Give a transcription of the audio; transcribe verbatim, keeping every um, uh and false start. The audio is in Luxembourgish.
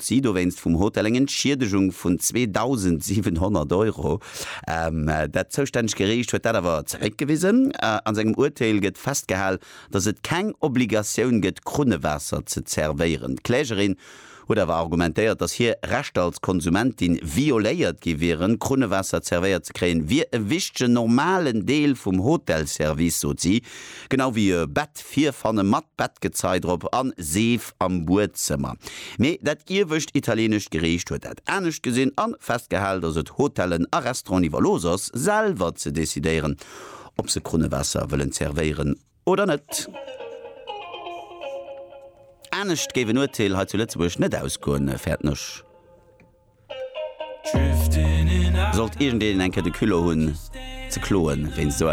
si dowéinst vum Hotel eng Entschiedegung vun zweedausendsiwenhonnert Euro. Dat zoustännegt Geriicht huet dat awer zeréckgewisen. A sengem Urteel gëtt festgehal, datt et keng Obligatioun gëtt, Krunnewaasser ze zerwéieren. D'Klägerin huet awer argumentéiert, datt hir Rechter als Konsumentin violéiert gi wieren. Krunnewaasser zerwéiert ze kréien, wier e wichtegen, normalen Deel vum Hotelservice, sot si, genau wéi e Bett virfanne mat Bettgezei drop a Seef am Buedzëmmer. Mee dat iewescht italieenescht Geriicht huet dat anescht gesinn a festgehal, datt et Hotellen a Restauranten iwwerlooss ass, selwer ze decidéieren, ob se Krunnewaasser wëllen zerwéieren oder net. Anescht géif en Urteel hei zu Lëtzebuerg net ausgoen, fäerten ech. Sollt iergendeen eng Kéier de Culot hunn ze kloen wéinst esou.